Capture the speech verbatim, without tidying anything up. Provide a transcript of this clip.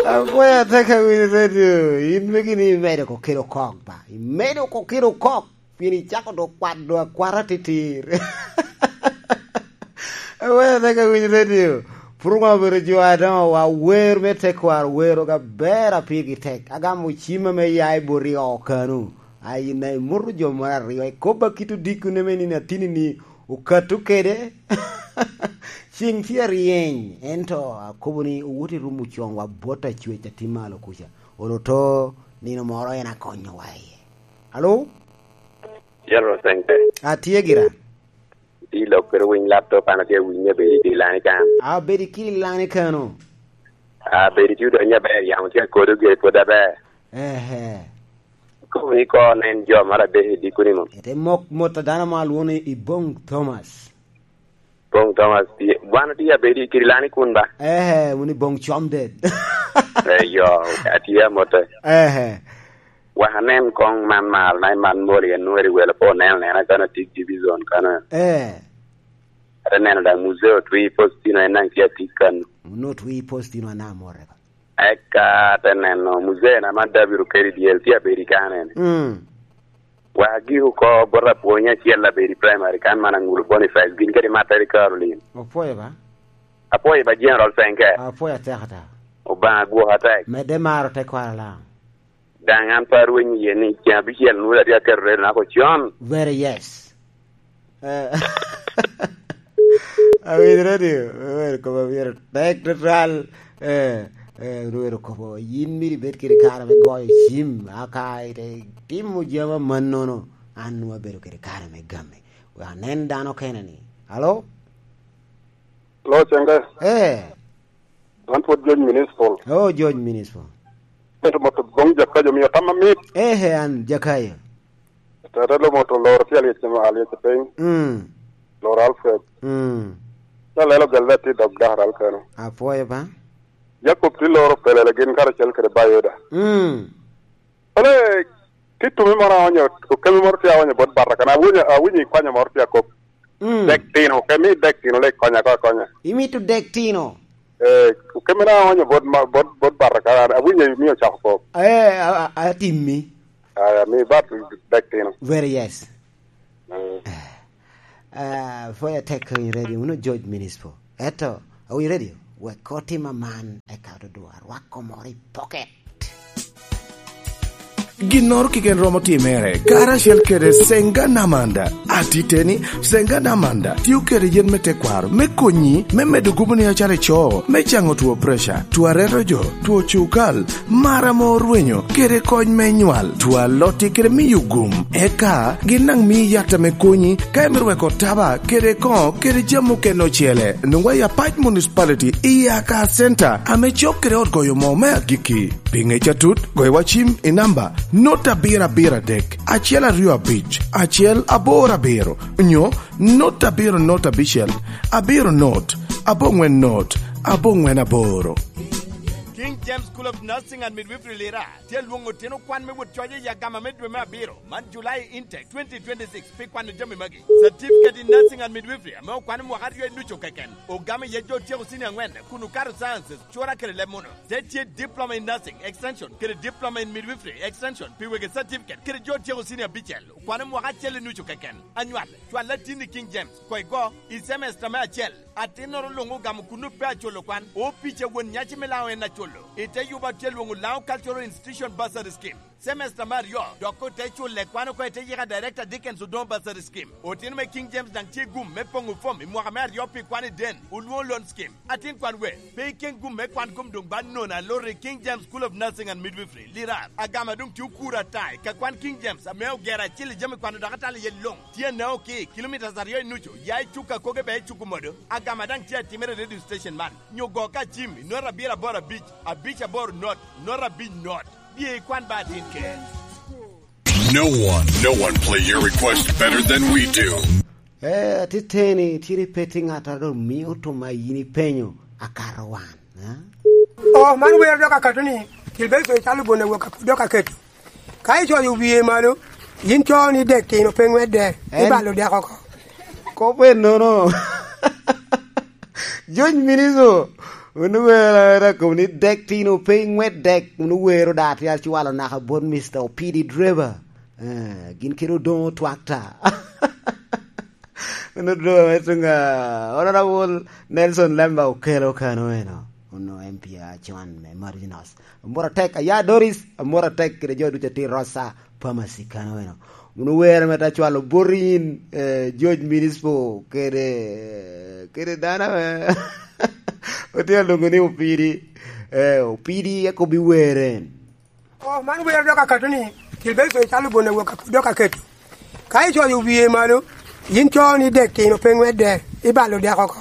Apwoyo atek a winy radio, in megi ni imedo ko kelo kok ba. Imedo ko kelo kok, pien icako dok kwado akwata titir. Apwoyo atek a winy radio, puro ŋwa obedo jo adoŋo wa wer me tekwaro wero ga ber a pigi tek. Agamo cima me ya i boti o kanu. Ayi na imuto jo moro aryo, ikobba kit odiko ne me nino atini ni okato kede. Ceng tye aryeny, ento akobo ni owot i rum ocoŋ wa bot acwec a tye malo kuca. Olo to, nino moro en akonyo wa iye. Alo? General Sente. Atye gira. Di lok kede winy laptop, an atye awinyo abedi ki lani kan. Abedi ki lani kano. Abedi tye odonyo aber, yamo tye akodo gire pwod aber. Ehe. Koni ko nen jo mara adek i dikoni mo. Ete mok mot a dano mo alwongo ni Ibong Thomas. Bong Thomas tye. Wan otye abedi i Kirilani kun ba? Ehe, wun Ibong Comded. Eyo, atye amote. Ehe. Wak anen koŋ man mal, na man moli en nweri welo po neno nena kana tik division kana. Eh. Ate neno daŋ muzee otwi postino en naŋ tye atik kan. Wun otwi postino ana amore. Eka ate neno muzee na man David Okeri dyel tye abedi kane ni. Mm. Wa agiko oko bot apwony acel abedi primary kan man Aŋulu Boniface, gin kede Materi Caroline. Opwoyo ba? Apwoyo ba General Senke. Apwoyo atek ata. Obaŋa gwok atek. Medde maro tekwaro Laŋo. Daŋ an pe arwenyo iye ni ceŋ abicel nwolo atye aketo redo nako con. Very yes. Eh, awinyo radio, awinyo kop abiro tek tutwal. Eh, eh, rwero kopo, yin myero ibed kede kare me goyo cim, aka ite timo jami amannono, an nwoŋo abedo kede kare me game. We anen dano kene ni. Alo? Lo, Cenge. Eh. An pwod George Municipal. Oh, George Municipal. Ento moto boŋ Jakayo omio tam amit. Eh, eh, an Jakayo. Tata lo moto loro tye alyec ma alyec piny. Mm. Loro Alfred. Mm. Ca lelo gelle tye dog dakar alkeno. Apwoyo ba. Jacob tye loro pelele gin karacel kede Bayoda. Mm. Ole, titumi moro aonyo, okemi moro tye aonyo bot bata, kana awinyo, awinyo ikwanyo moro tye akop. Mm. Dek tino, okemi dek tino, le ikonya ko akonya. Imito dek tino? Eh, okemi na aonyo bot ma-, bot, bot bata, kana awinyo imio cako kop. Eh, a, a, atimmi. Aya, mi bat dek tino. Very yes. Mm. Eh, eh, for your tech in radio, uno George Municipal. Eto, are you ready? Wek otim aman, eka ododo arwak komoro i pocket. Ginnoro keken romo timere, karacel kede Senga Namanda. Atiteni, Senga Namanda tio kede yen me tekwaro me konyi me medo gubo ni acalo ico, me caŋo two preca, two areto jo, two cukal, mar ame orwenyo, kede kony me nywal, two alotti kede miyo gum. Eka gin daŋ mii yat ame konyi ka imito weko taba kede koŋo kede jami okene ocele. Nwoŋwa i Apac Municipality i Aka Center ame cok kede ot goyo moo me agikki. Pi ŋec atut, goyo wa cim i namba not abiro abiro adek, acel aryo abic, acel aboro abiro, nyo not abiro not abicel, abiro not, aboŋwen not, aboŋwen aboro. King James School of Nursing and Midwifery Lira tye lwoŋo otino kwan me wot coc i agama me dwe me abiro, man July intake twenty twenty-six, pi kwano jami magi: Certificate in Nursing and Midwifery ame okwano mwaka aryo i nucu keken, ogamo iye jo otyeko senior angwen kun okato sciences, cura kede leb muno. Te tye Diploma in Nursing Extension kede Diploma in Midwifery Extension pi wegi certificate kede jo otyeko senior abicel, okwano mwaka acel i nucu keken. Anywal, cwal atin i King James, koŋ igo i semester me acel. Atinnoro luŋ ogamo kun pe aculo kwan, opic a won nyaci me Laŋo en aculo. I te yuba tye lwoŋo Laŋo Cultural Institution Bursary Scheme. Semester me aryo, dok ote culle kwan oko i te yika Director Dickens Odongo Bursary Scheme. Otino me King James daŋ tye gum me poŋo fom i mwaka me aryo pi kwan i den, olwoŋo loan scheme. Atin kwan we, pe iken gum me kwan kom doŋ ba nono aloro i King James School of Nursing and Midwifery, Lirar. Agama doŋ tye okuro ata i ka kwan King James ame ogero acil i jami kwano dok atalo iye luŋ. Tye anao ki kilomitas aryo i nucu, ya i Cuka Koge bea i Cuku Modo. Agama daŋ tye atimere i radio station man. Nyo go ka cim i not abiro aboro abic, abic aboro not, not abic not. Bye ikwan ba atin ker. No one, no one play your request better than we do. Eh, atiteni, tiri pe ti ŋat a ro mio tuma yin ipenyo, akato wan, eh? Oh, man wer dok akato ni, Gilberto Icalo Bonawok a pud dok aketo. Ka icoyo wie malo, yin co ni dek tino pe ŋwedde, en ibalo dek oko. Kop ennono. Jony Miniso, Wun wero era kom ni dek tino pe ŋwet dek, wun wero da atyal cwalo naka bot Mister Opidi Driver. Eh, gin kede Odoŋo Twakta. Wun Odoŋo me tuŋ, ah, Honorable Nelson Lemba Okelo kano eno. Wun M P acon me Marinos. Amut atek, aya Doris, amut atek kede jo ducu atir Rosa Pharmacy kano eno. Wun wero me ta cwalo bot yin, eh, George Municipal kede, kede dano ame otye alongo ni Opidi, eh, Opidi akobi were. Oh, man wer dok akato ni, Gilberto icalo bon awok a pud dok aketo. Ka icoyo wie malo, yin co ni dek tino pe ŋwedde, ibalo dek oko.